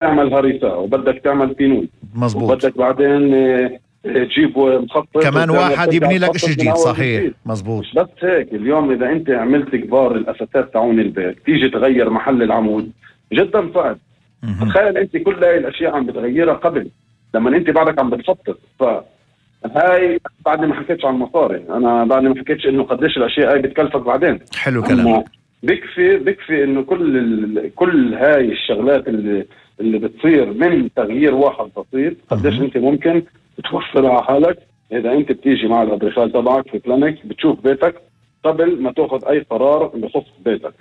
تعمل هريسة وبدك تعمل بينون، مزبوط، وبدك بعدين تجيب مخطط كمان واحد يبني لك اشي جديد. صحيح، مزبوط. مش بس هيك، اليوم اذا انت عملت كبار الاساسات تاعون البيت تيجي تغير محل العمود جدا صعب. تخيل انت كل هاي الاشياء عم بتغيرها قبل لما انت بعدك عم بتخطط. فهاي بعد ما حكيتش عن المصاري، انا بعد ما حكيتش انه قديش الاشياء هاي بتكلفك بعدين. حلو كلام. بكفي انه كل هاي الشغلات اللي بتصير من تغيير واحد بسيط قديش انت ممكن توفر على حالك اذا انت بتيجي مع الادريخال تبعك في بلانكس بتشوف بيتك قبل ما تاخذ اي قرار بخصوص بيتك.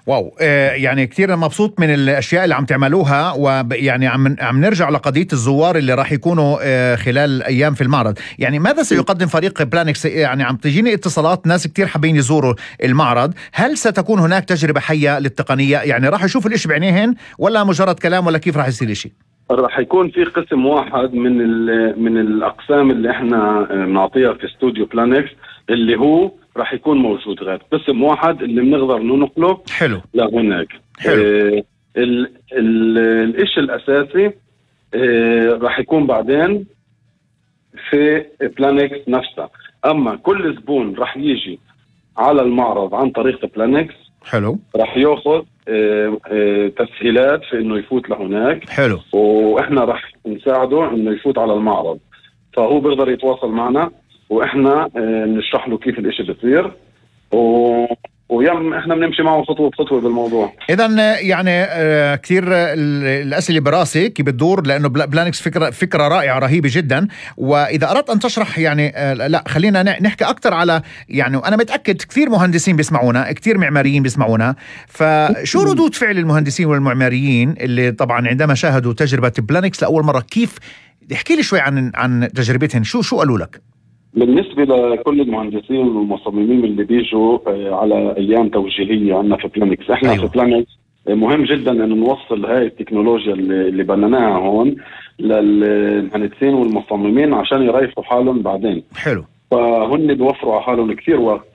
واو، يعني كتير مبسوط من الاشياء اللي عم تعملوها، ويعني عم نرجع لقضية الزوار اللي راح يكونوا خلال ايام في المعرض. يعني ماذا سيقدم فريق بلانكس؟ يعني عم تجيني اتصالات ناس كتير حابين يزوروا المعرض، هل ستكون هناك تجربة حية للتقنية؟ يعني راح يشوف الاشي بعينيهن ولا مجرد كلام، ولا كيف راح يصير الاشي؟ راح يكون في قسم واحد من الاقسام اللي احنا بنعطيها في استوديو بلانكس اللي هو راح يكون موجود، غير قسم واحد اللي بنقدر ننقله حلو لهناك. حلو. الاشي الاساسي راح يكون بعدين في بلانكس نفسها، اما كل زبون راح يجي على المعرض عن طريق بلانكس حلو راح ياخذ تسهيلات في انه يفوت لهناك. حلو. واحنا راح نساعده انه يفوت على المعرض، فهو بيقدر يتواصل معنا واحنا نشرح له كيف الاشي بيصير، ويم احنا بنمشي معه خطوه بخطوه بالموضوع. اذا يعني كثير الاسئله براسي كيف بتدور، لانه بلانكس فكره رائعه رهيبه جدا. واذا اردت ان تشرح يعني لا خلينا نحكي اكثر على، يعني انا متاكد كثير مهندسين بيسمعونا، كثير معماريين بيسمعونا، فشو ردود فعل المهندسين والمعماريين اللي طبعا عندما شاهدوا تجربه بلانكس لاول مره؟ كيف احكي لي شوي عن تجربتهم، شو قالوا لك؟ بالنسبة لكل المهندسين والمصممين اللي بيجوا على أيام توجيهية عنا في بلانكس، احنا في بلانكس مهم جدا أن نوصل هاي التكنولوجيا اللي بنيناها هون للمهندسين والمصممين عشان يريحوا حالهم بعدين. حلو. فهن بيوفروا على حالهم كثير وقت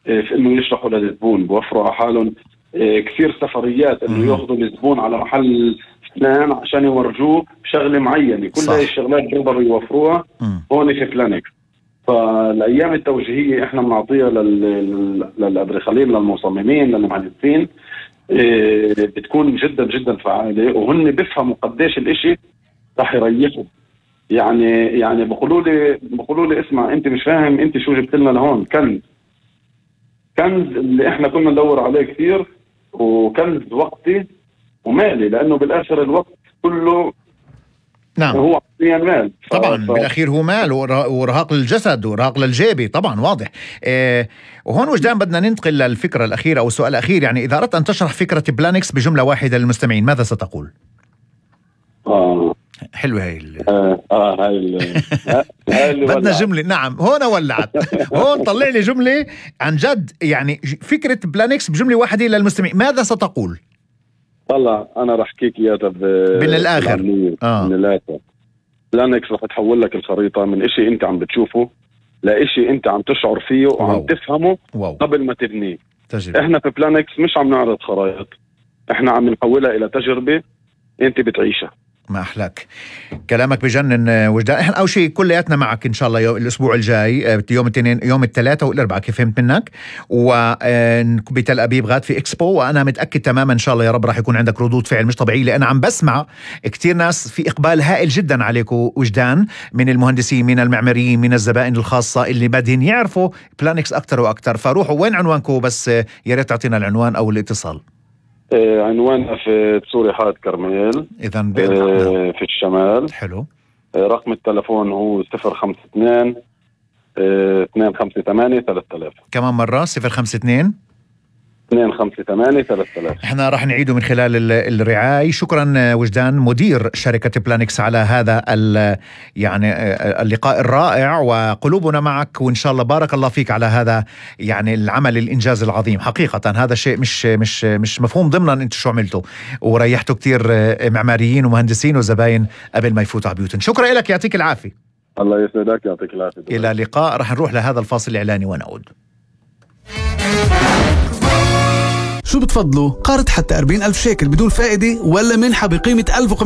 في انه يشرحوا للزبون، بيوفروا على حالهم كثير سفريات انه ياخذوا الزبون على محل فلان عشان يورجوه شغلة معينة. كل هاي الشغلات بيقدروا يوفروها هون في بلانكس. فالايام التوجيهيه احنا بنعطيها للادريخالين، للمصممين، للمهندسين، بتكون جدا جدا فعاله، وهن بيفهموا قديش الاشي رح يريحوا. يعني بقولوا لي اسمع انت مش فاهم انت شو جبت لنا لهون، كنز اللي احنا كنا ندور عليه كثير، وكنز وقتي ومالي، لانه بالاخر الوقت كله نعم هو مال. طبعا بالاخير هو مال ورهاق للجسد ورهاق للجيبي، طبعا واضح. وهون وجدان بدنا ننتقل للفكره الاخيره او السؤال الاخير. يعني اذا اردت ان تشرح فكره بلانكس بجمله واحده للمستمعين ماذا ستقول؟ حلوه هاي هاي بدنا جمله. نعم هون ولعت. هون طلع لي جمله عن جد، يعني فكره بلانكس بجمله واحده للمستمعين ماذا ستقول؟ طلع انا رح احكيك اياها من الاخر. من الاخر بلانكس رح تحول لك الخريطه من اشي انت عم بتشوفه لاشي انت عم تشعر فيه وعم تفهمه قبل ما تبنيه. احنا في بلانكس مش عم نعرض خرائط، احنا عم نحولها الى تجربه انت بتعيشها. ما أحلاك، كلامك بجنن وجدان. احنا أول شيء كلياتنا معك إن شاء الله الأسبوع الجاي، يوم الاثنين، يوم الثلاثاء والأربعاء كيف فهمت منك، وبتل أبيب غاد في إكسبو. وأنا متأكد تماما إن شاء الله يا رب راح يكون عندك ردود فعل مش طبيعية، لأن عم بسمع كتير ناس في إقبال هائل جدا عليكم وجدان، من المهندسين، من المعماريين، من الزبائن الخاصة اللي بدهن يعرفوا بلانكس أكتر وأكتر. فروحوا وين عنوانكم بس يا ريت تعطينا العنوان أو الاتصال. عنواننا في سوري حائط كرميل، إذن في الشمال. حلو. رقم التلفون هو 052 258 3000. كمان مرة 052 258 3000. احنا راح نعيده من خلال الرعاية. شكرا وجدان مدير شركة بلانكس على هذا يعني اللقاء الرائع، وقلوبنا معك، وإن شاء الله بارك الله فيك على هذا يعني العمل الإنجاز العظيم. حقيقة هذا شيء مش مفهوم ضمنا انت شو عملته، وريحتوا كتير معماريين ومهندسين وزباين قبل ما يفوتوا على بيوتهم. شكرا لك، يعطيك العافية. الله يسعدك، يعطيك العافية. إلى اللقاء. راح نروح لهذا الفاصل الإعلاني ونعود. شو بتفضلوا؟ قرض حتى 40,000 شيكل بدون فائدة ولا منحة بقيمة 1500